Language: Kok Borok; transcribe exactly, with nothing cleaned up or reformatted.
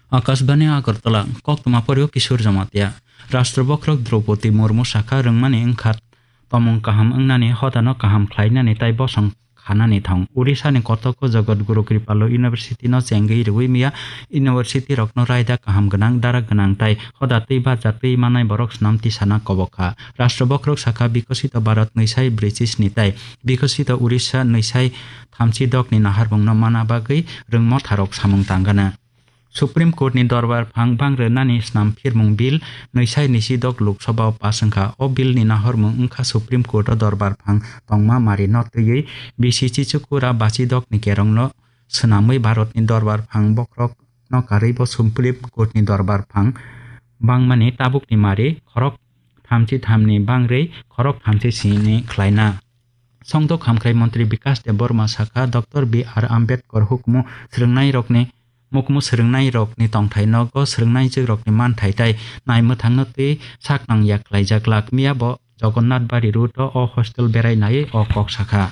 Akashbani Agartala, koktwma porio Kishore Jamatia. Rashtra bokhorok Draupadi Murmu sakha rwngmani wngkha tomung kaham wngnani, hodano kaham khlainani tai bosong khanani thong. Odisha ni kotoko Jagat Guru Kripalu University no chengwi rwui miya university rokno raida kaham gwnang, dara gwnang tai hoda twi barja twi manai borok snam tisana kobok kha. Rashtra bokhorok sakha Bikosito Bharat nwi sai brwichi sni tai Bikosito Odisha nwi sai thamchi dokni naharmungno mana bagwi rwngmotharok samung tangana. Supreme Court ni dorbar phang bang rwnani snam phirmung bill nwi sai nisi dok Lok Sabha o pass wngkha. O bill ni nahormung wngkha Supreme Court o dorbar phang tongma mari no twiwi bisi chichukura bachi dok ni kerong no swnamwi Bharat ni dorbar phang bokhorok no karwi bo Supreme Court ni dorbar phang bangmani tabuk ni mari khorok thamchi thamni bangrwi khorok thamchi sini khlaina. Songdok hamkrai montri Bikash Debbarma sakha, Doctor B R Ambedkar hukumu swrwngnairokni, mukmu swrwngnairokni tongthai nogo swrwngnaijwkrokni manthai tai naimwthangno twi saknang yak khlaijak lak miya bo Jagannath Bari road o, o hostel berai nai o kok sakha.